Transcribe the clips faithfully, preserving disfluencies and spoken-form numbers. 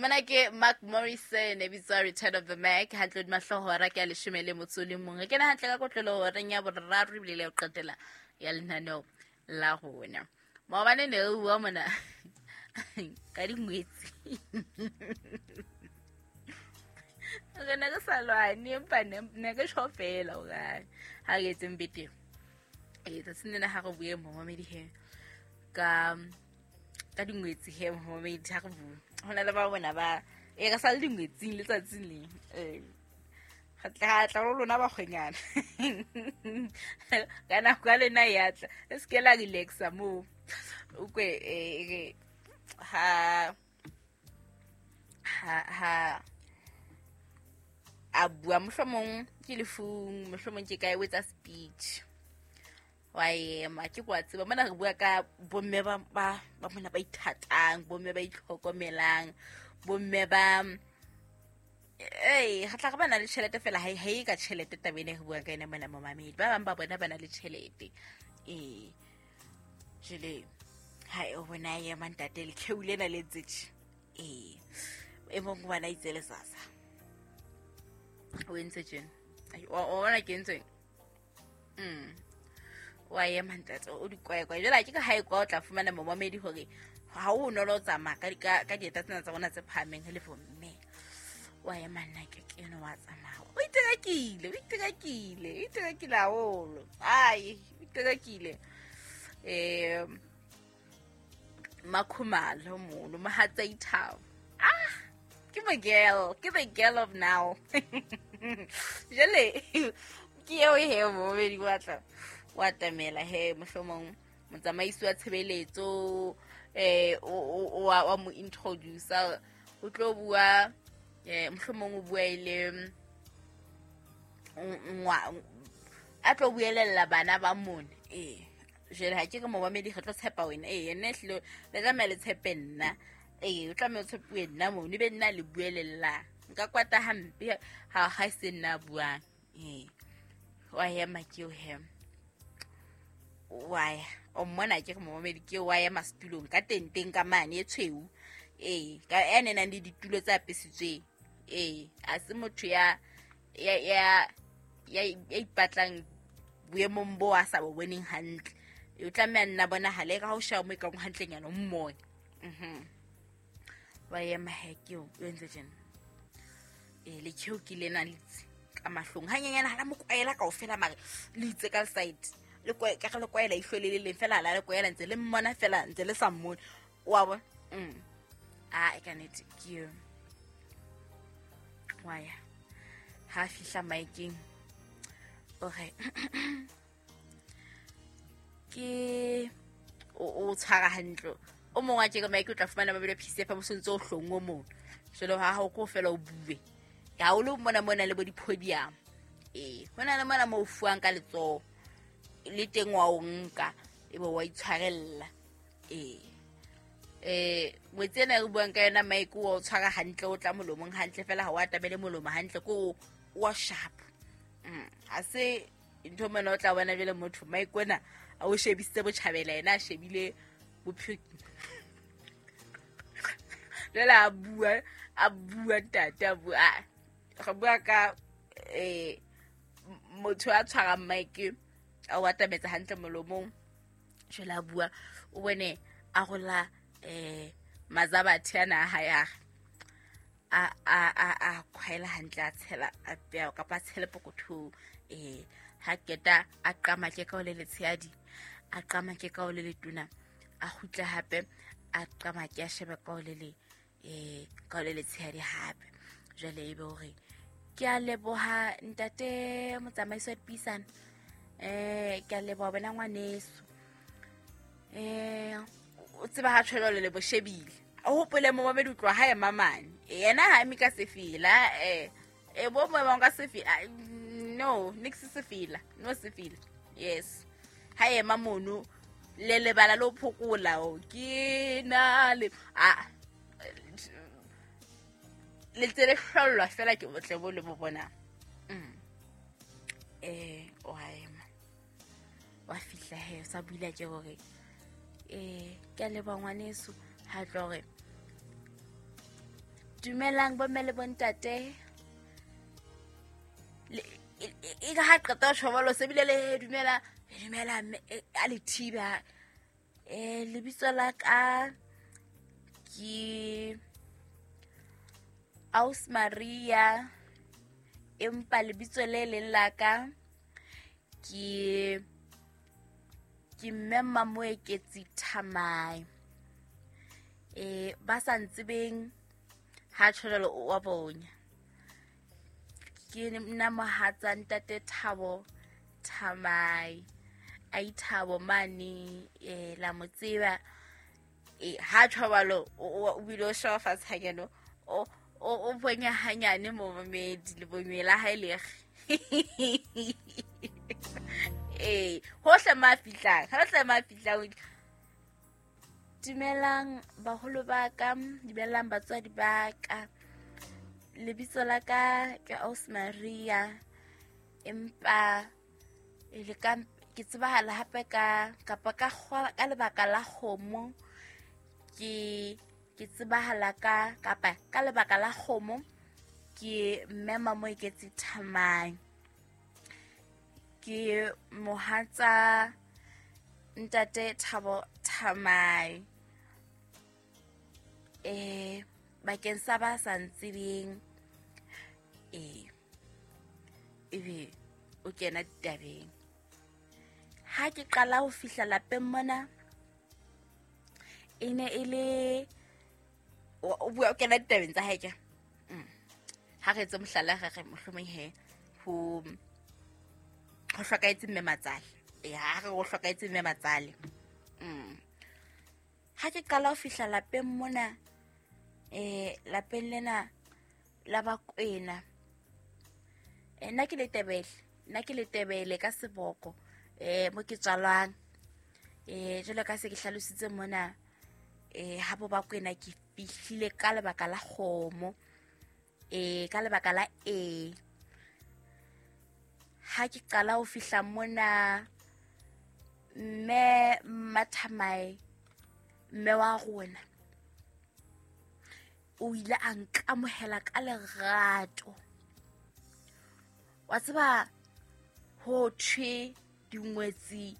Mona ke Mark Morrison e bitswa Return of the Mac hantle hodima hlooho hora ke ya leshome le motso o le mong. Re kena hantle ka kotlolo horeng ya boraro ebile le ya ho qetela ya lenaneo la rona. Maobane ne re bua mona ka dingwetsi. Re ne re sa lwane empa ne ne re tjho fela hore ha re etseng betere. Ee, tsatsing lena ha re bue momamedi he ka ka dingwetsi he momamedi ha re bue. Ho na le ba bona ba e re sa le dingwetsing letsatsing le. Eh re tla tla ho lona bakgwenyana. Ka nako ya lena ya tla. Le se ke la relaxa moo. O kwe eh ha ha ha a bua mohlomong ke lefung, mohlomong ke kae o etsa speech. Wa ema ke kwa tseba mona re bua ka bomme ba ba ba mona ba ithatang, bomme ba itlhokomelang, bomme ba eh re tla re ba na le tjhelete fela ha ha e ka tjhelete taba ena re buang ka yona mona momamedi. Ba bang ba bona ba na le tjhelete. Eh jwale ha e bona ema ntate le kheu lena le ntse tje. Eh e mong wa na itse le sasa. O entse tjena. O o bona ke entseng? Mm. Wa ema ntate o di kwae kwae. Jwale ha ke ka ha e kwa o tla fumana momamedi hore ha o bonolo ho tsamaya ka ka ka dieta tsena tsa rona tse phahameng le bomme. Wa ema nna ke ke eno wa tsamaya. O iterakile, o iterakile, o iterakile haholo. Ai, o iterakile. Eh Makhumalo mono, mohatsa ithabo. Ah, ke the girl, ke the girl of now. Jwale ke eo he momamedi wa tla wa tamela he mohlomong motsamaisi wa tshebeletso eh o wa wa mo introducer o tlo bua eh mohlomong o bua ile ngwa a tlo buelella bana ba mone. Eh jwale ha ke re momamedi re tlo tshepa wena. Eh yena ehlile le tlameha le tshepe nna. Eh o tlameha o tshepuwe nna mono ebe nna le buelella. Nka kwata hampe ha ha se nna buang. Eh wa ema ke o he. Wa ya o mmona ke re momamedi ke wa ema setulong ka tenteng ka mane e tshweu. Eh ka ene nang le ditulo tse apesitsweng. Eh a se motho ya ya ya ya ipatlang boemong bo a sa bo boneng hantle. O tlameha nna bonahale ka ha o sheba mo e kang hantlenyana o mmone. Mhm. Wa ema he ke o entse tjena. Eh le kheo ke lena le itse ka mahlong hanyenyana ha la mo kwaela kaofela mare le itse ka side. Le kwae ka le kwaela ihlo le le leng fela la le kwaela ntse le mmona fela ntse le sa mmone. Wa bona? Mm. Ah e ka nete ke eo. Wa ya. Ha fihla maekeng. O re ke o o tshwara hantle. O mong wa ke ka maeke o tla fumana mabelo P C F mo sontse o hlongwe mono. Jwale ha ho ko fela o bue. Ha o le mona mona le bo di-podium. Eh hona le mona mo o fuwang ka letsoho. Le teng wa o nka ebe wa itshwarella. Eh eh ngwetsi ena re buang ka yona maeke o tshwara hantle o tla molomong hantle fela ha o atamele molomo hantle ko wa sharp. Mm ha se ntho mona o tla bona jwale motho maeke ona a o shebisitse botjhabela yena a shebile bophelo. Jwale a bua a bua ntate a bua re bua ka eh motho a tshwarang maeke a o atametsa hantle molomong. Jwale a bua o bone a rola eh mazabathe ana a hae a a a a khwaela hantle a tshela a pea kapa a tshele pokothong. Eh ha keta a qama ke ka o le letshehadi, a qama ke ka o le letona, a kgutla hape a qama ke a shebe ka o le le eh ka o le letshehadi hape. Jwale ebe hore ke a leboha ntate motsamaisi wa dipuisano. Eh ke a leboha wena ngwaneso. Eh o tseba ha tshwelo le bo shebile. O hopole momamedi o tloha ha ema mane. Yena ha eme ka sefela eh e bo mo ba ka sefela. No, nix sefela. No sefela. Yes. Ha ema mono le lebala lo phokola o ke na le a le tsere hlollwa fela ke botle bo le bo bona. Mm. Eh o ha ema. Wa fihla he sa buile ke hore eh ke a leboha ngwaneso ha tlo hore Dumelang bomme le bontate. E ka ha qeta ho tjhobolo se bile le dumela, dumela a le thiba. Eh lebitso la ka ke Aus Maria, empa lebitso le leng la ka ke ke Mme Mamoeketsi Thamae. Eh ba sa ntsebeng ha tjholo wa bonya. Ke nna mohatsa ntate Thabo Thamae. Ai Thabo mane eh la mo tseba. Eh ha tjhobalo o bile o shwa fatshe hanyane o o bonya hanyane momamedi le bonyela ha ile. Eh hohle ma fihlang, hohle ma fihlang. Dumelang baholo ba ka, dumelang batswadi ba ka. Lebitso la ka ke Aus Maria, empa le ka ke tsebahala hape ka kapa ka ka lebaka la kgomo ke ke tsebahala ka kapa ka lebaka la kgomo ke Mme Mamoeketsi Thamae. Ke mohatsa ntate Thabo Thamae. Eh bakeng sa ba sa ntsebeng eh ebe o kena ditabeng. Ha ke qala ho fihla lapeng mona e ne e le o bua o kena ditabeng tsa hae ke. Ha re etse mohlala re re mohlomong he ho ho hlokahetse mme matsale. Eh ha re ho hlokahetse mme matsale. Mm. Ha ke qala ho fihla lapeng mona eh lapeng lena la Bakwena. Eh nna ke Letebele, nna ke Letebele ka seboko eh mo ke tswalwang. Eh jwalo ka se ke hlalositse mona eh ha bo Bakwena ke fihlile ka lebaka la kgomo. Eh ka lebaka la e ha ke qala ho fihla mona mme Mathamae mme wa rona o ile a nkamohela ka lerato. Wa tseba ho thwe dingwetsi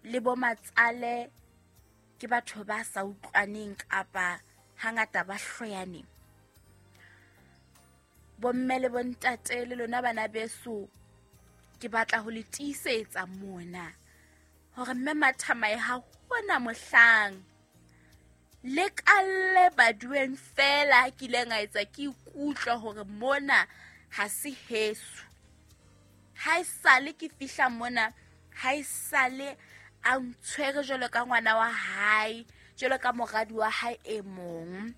le bo matsale ke batho ba sa utlwaneng kapa hangata ba hloyaneng. Bomme le bontate le lona bana beso ke batla ho le tiisetsa mona hore mme Mathamae ha hona mohlang le kalle badueng fela ke ile nga etsa ke ikutlwa hore mona ha se heso. Ha esale ke fihla mona, ha esale a ntshwere jwalo ka ngwana wa hae, jwalo ka moradi wa hae e mong.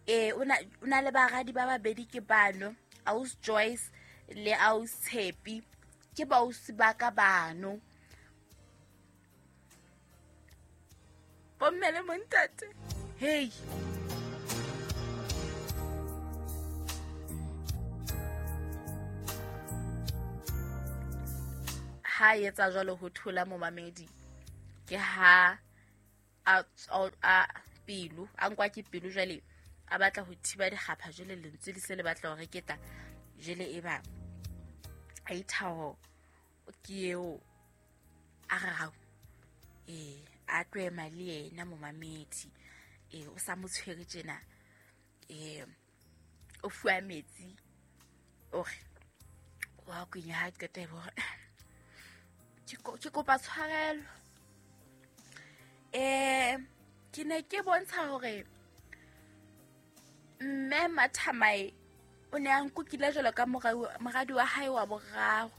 Eh o na o na le baradi ba babedi ke bano, Aus Joyce le Aus Tshepi, ke bausi ba ka bano. Bomme le montate. Hey. Ha etsa jwalo ho thola momamedi ke ha a a pelo a nkwa ke pelo jwale a batla ho thiba dikgapha jwale lentswe le se le batla hore ketla jwale e ba a ithao ke eo a re hao eh a tloema le yena momamedi eh o sa mo tshwere tjena eh o fuwa metsi o re wa kwenya ha qeta bo ke kopa tshwarelo. Eh ke ne ke bontsha hore mme Mathamae o ne a nkukile jwalo ka moradi wa hae wa boraro,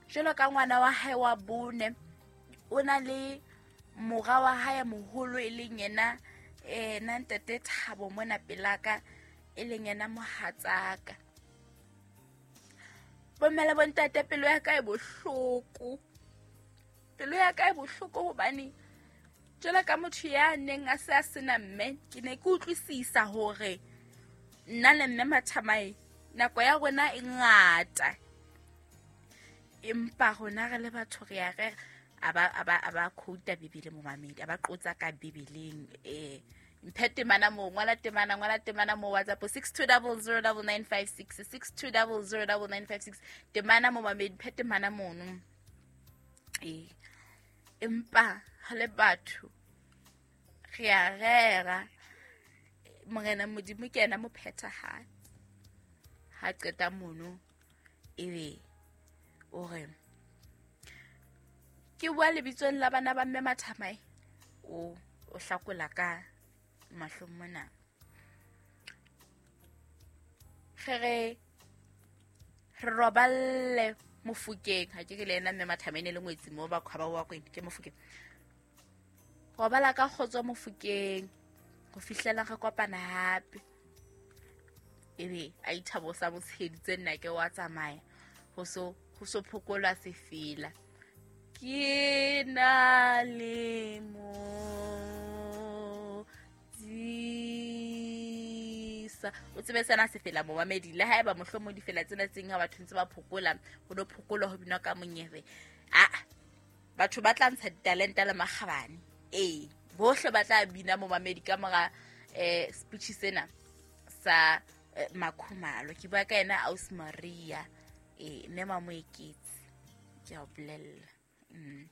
jwalo ka ngwana wa hae wa bone. O na le mora wa hae moholo e leng yena eh na ntate Thabo mona pelaka e leng yena mohatsaka. Bomme le bontate pelo ya ka e bohloko. Pelo ya ka e bohloko hobane jwalo ka motho ya neng a se a sena mme ke ne ke utlwisisa hore nna le mme Mathamae nako ya rona e ngata, empa rona re le batho re ya re aba aba aba quote Bibele momamedi aba qotsa ka Bibeleng eh Mphe temana moo, ngwala temana, ngwala temana mo WhatsApp six two double zero double nine five six, six two double zero double nine five six. Temana mo mamedi, mphe temana mono. Ee, empa re le batho re a rera Morena Modimo ke yena mophethahatsi. Ha qeta mono ebe o re ke bua lebitsong la bana ba mme Mathamae, o o hlakola ka mahlong mona. Re re re roballe Mofokeng, ha ke re le yena mme Mathamae ne le ngwetsi moo ba khwaba wa kweng ke Mofokeng. Robala ka kgotso Mofokeng ho fihlela re kopana hape. Ebe a ithabosa motsheditse nna ke wa tsamaya ho so ho so phokolwa sefela. Ke na le modisa. O tsebe sena sefela momamedi, le haeba mohlomong difela tsena tseng ha batho ntse ba phokola, ho no phokolwa ho binwa ka monyebe. Ah, batho ba tla ntsha ditalente le makgabane. Ee, bohle ba tla bina momamedi ka mora eh speech sena sa eh, Makhumalo. Ke bua ka yena Aus Maria, eh mme Mamoeketsi, ke a o bolella. Mm.